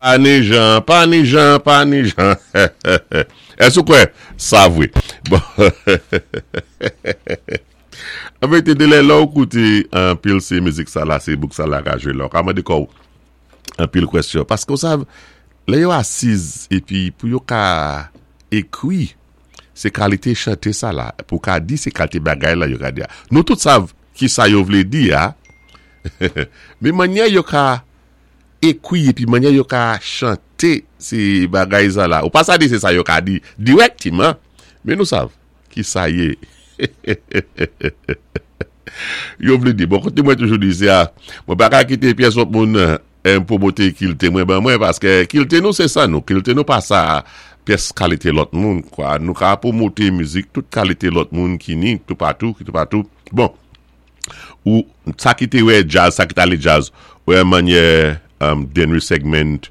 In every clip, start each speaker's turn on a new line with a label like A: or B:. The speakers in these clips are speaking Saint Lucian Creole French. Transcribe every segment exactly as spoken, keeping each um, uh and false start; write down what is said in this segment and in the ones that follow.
A: Pa ni jan, pa ni jan, pa ni jan. Èske ou kwè? Sa vwé. Bon. An vérité, de lè lò ou kouté anpil sé mizik sa la, sé bouk sa la ka jwé la. Ou ka mandé kò ou anpil kwèsyon. Paské ou sav, lè yo asiz épi pou yo ka ékwi sé kalité chanté sa la, pou ka di sé kalité bagay la yo ka di a. Nou tout sav ki sa yo vlé di a, men mannyè yo ka ékwi épi mannyè yo ka chanté sé bagay sa la. Ou pa sa di sé sa yo ka di dirèkteman, men nou sav ki sa yé. Yo vlé di. Bon, koté mwen toujou di sé a, mwen pa ka kité pyès lòt moun pwomoté kilti mwen ban mwen, paské kilti nou sé sa nou. Kilti nou pa sa pyès kalité lòt moun, kwa. Nou ka pwomoté mizik tout kalité lòt moun ki ni toupatou, ki toupatou. Bon, ou sa ki té wè djaz, sa ki t alé djaz, wè mannyè um, Dennery Segment,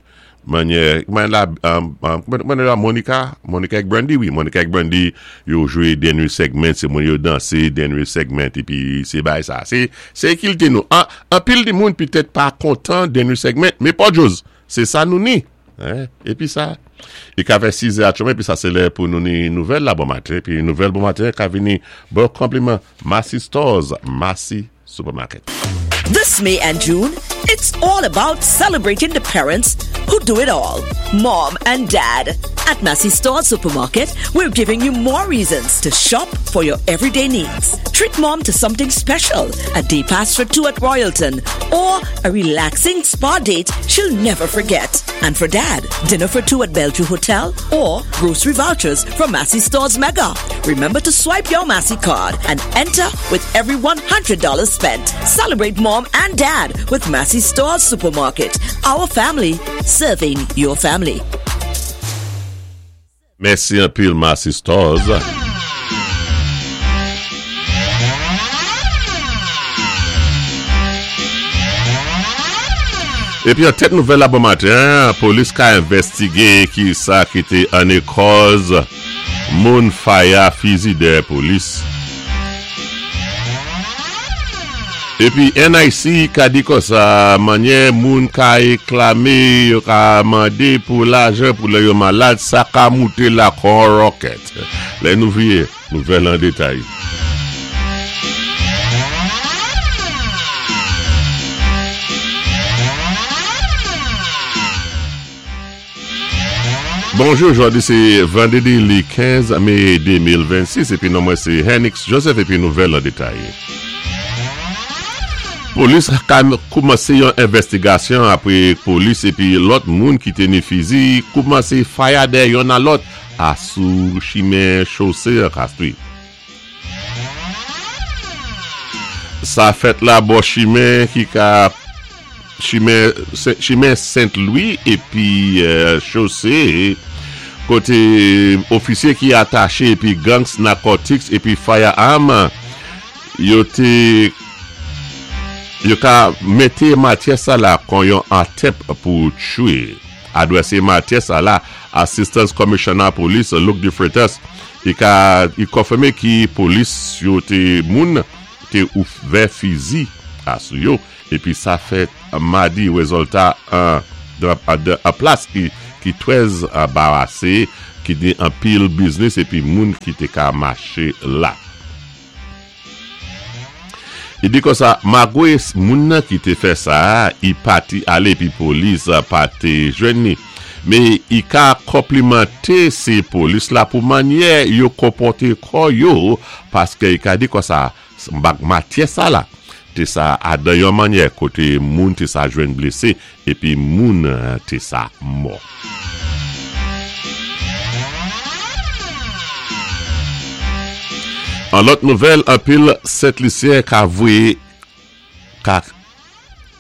A: mannyè, kouman la, um, um, kouman la Monica, Monica ek Brandy, wi, Monica ek Brandy, yo jwé Dennery Segment, sé moun yo dansé Dennery Segment, épi sé bay sa. Sé, sé kilti nou. An, anpil di moun pitèt pa kontan Dennery Segment, men pa djòz, sé sa nou ni. Hein? Épi sa, i ka fè sis è atchoumen, épi sa sé lè pou nou ni nouvèl la bon maten, épi nouvèl bon maten ka vini bon konpliman Massy Stores, Massy Supermarket.
B: This May and June, it's all about celebrating the parents who do it all. Mom and Dad. At Massy Stores Supermarket, we're giving you more reasons to shop for your everyday needs. Treat mom to something special, a day pass for two at Royalton, or a relaxing spa date she'll never forget. And for dad, dinner for two at Bellevue Hotel or grocery vouchers from Massy Stores Mega. Remember to swipe your Massy card and enter with every one hundred dollars spent. Celebrate mom and dad with Massy Stores Supermarket. Our family serving your family.
A: Mèsi anpil Massy Stores. Épi an tèt nouvèl la bon maten, polis ka envèstigé ki sa ki té anné kòz moun faya fizi dèyè polis. Épi N I C ka di konsa mannyè moun ka éklamé yo ka mandé pou lajan pou lè yo malad sa ka mouté la kon rocket. Lè nou vié, nouvèl an détay. Bonjou, jòdi sé vandédi li kenz mé de mil vennsis épi non mwen sé Henix Joseph épi nouvèl an détay. Polis ka koumansé yon envèstigasyon apwé polis épi lòt moun ki té ni fizi koumansé faya dèyè yonn a lòt a sou chimen chosé an Castries. Sa fèt la bò chimen ki ka chimen chimen Saint-Louis épi chosé koté ofisyé ki ataché épi gangs narcotics épi firearm yo té yo ka mété matyè sa la kon yon attempt pou tchwé. Adwèsé matyè sa la, Assistant Commissioner Police Luke DeFreitas i ka i konfimé ki polis yo té moun té ouvè fizi a sou yo épi sa fèt madi wézilta an an plas ki ki trè anbarasé ki ni anpil biznis épi moun ki té ka maché la. I di konsa, malgwé moun nan ki té fè sa, i pati alé pi polis pa té jwenn ni. Men i ka konplimanté sé polis la pou mannyè yo konpòté kò yo paské i ka di konsa, bak matyè sa la, té sa adan yon mannyè koté moun té sa jwenn blésé épi moun té sa mò. An lòt nouvèl, anpil Sent Lisyen ka voyé ka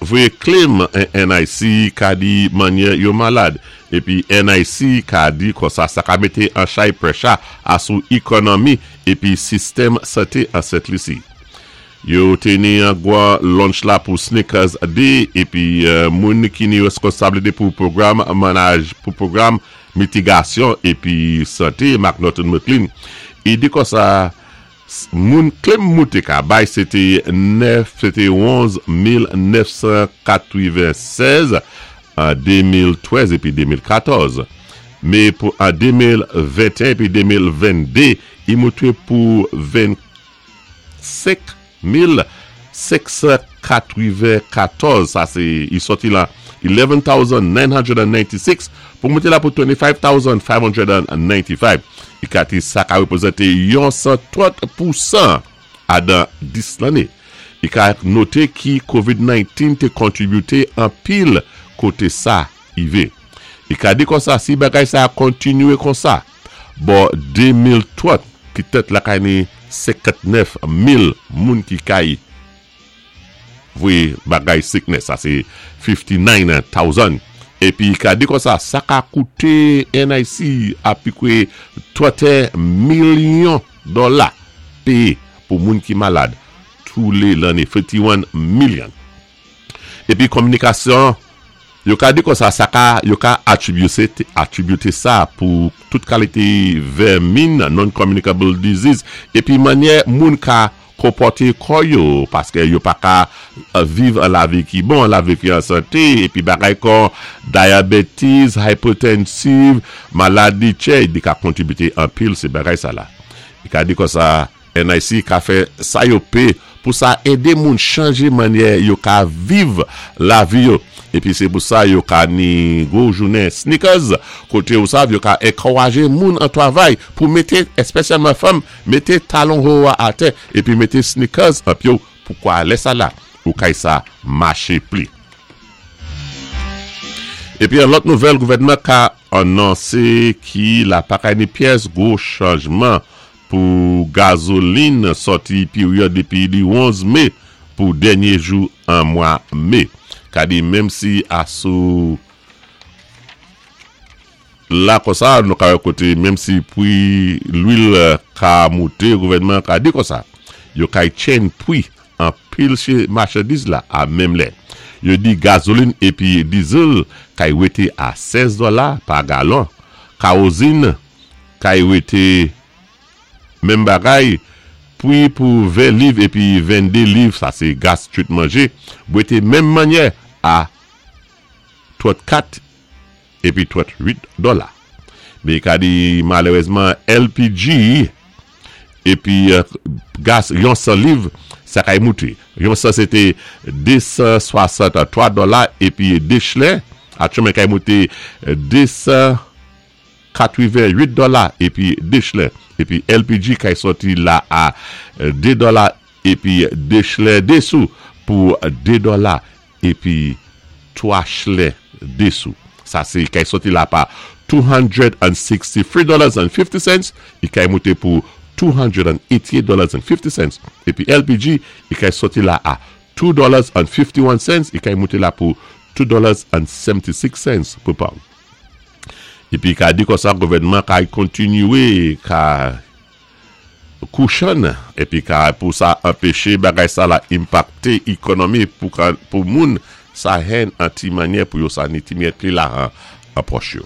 A: voyé claim N I C ka di mannyè yo malad. Épi N I C ka di konsa sa ka mété an chay pressure a sou ékonomi épi sistèm santé an Sent Lisi. Yo té ni an gwa lunch la pou Sneakers Day épi moun ki ni responsablité pou pwogram manaj pou pwogram mitigasyon épi santé McNaughton McLean. I di konsa moun claim mouté ka bay sé té nèf, sé té onz mil nèf san katwiven sèz An de mil trèz épi de mil katòz. Mé pou an de mil venteyen épi de mil vennde, i mouté pou vennsenk mil senksan katwennkatòz. Sa sé, i sòti la elèven thousand nine hundred ninety-six pou mouté la pou twenty-five thousand five hundred ninety-five. I ka di sa ka wépwézanté yon san trant pou san adan dis lanné. I ka noté ki COVID nineteen té kontribiwté anpil koté sa i vé. I ka di konsa, si bagay sa a kontinyé konsa, bò de mil trant, ki tèt la kay ni senkannèf mil moun ki kay vwé bagay sickness, sa sé fifty-nine thousand. Épi ka di konsa, sa ka kouté N I C apikwé tranteyen milyon dola péyé pou moun ki malad tou lé lanné, fifty-one million. Épi kominikasyon, yo ka di konsa, sa ka, yo ka attributé, attributé sa pou tout kalité vèmin, non-communicable disease, épi mannyè moun ka konpòté kò yo, paské yo pa ka euh, viv an lavi ki bon, lavi ki an santé, épi bagay kon diabetes, hypertensive, maladi tchè, di ka kontributé anpil sé bagay sa la. I ka di konsa, N I C ka fè sa yo pé pou sa édé moun chanjé mannyè yo ka viv lavi yo. Épi sé pou sa yo ka ni gwo jounen sneakers, koté ou sav yo ka ankourajé moun an twavay pou mété, espesyalman fanm, mété talon wo a atè, épi mété sneakers an pyé pou kwa lè sa la, ou kay sa maché pli. Épi an lòt nouvèl, gouvèdman ka anonsé ki la pa kay ni pyès gwo chanjman pou gazolin sòti peryòd dépi di onz mé pou dènyé jou an mwa mé. Ka di menm si asou la konsa, nou ka wè koté, menm si pwi lwil ka mouté, gouvèdman ka di konsa, yo kay tjenn pwi anpil che machandiz la a menm lè. Yo di gazolin épi diesel kay wété a sèz dola pa galon. Kawozin kay wété menm bagay, pwi pou ven liv épi vennde liv, sa sé gas twit manjé, wété menm mannyè a trannkat épi trantwit dola. Mé ka di malérézman L P G épi euh, gas yon san liv, sa kay mouté. Yon san sété de san swasantwa dola épi de chlè, atchoumen kay mouté de san katwenwit dola épi de chlè. Épi L P G kay sòti la a de dola épi de chlè de sou pou de dola épi twa chlè de sou. Sa sé kay sòti la pa two hundred sixty-three dollars and fifty cents, i kay mouté pou two hundred eighty-eight dollars and fifty cents. Épi L P G, i kay sòti la a two dollars and fifty-one cents, i kay mouté la pou two dollars and seventy-six cents pou pound. Épi ka di konsa gouvèdman kay kontinyé ka kouchan épi ka pou sa anpéché bagay sa la enpakté ékonomi pou, ka, pou moun sa hen an ti mannyè pou yo sa ni ti myèt li la an, an pòch yo.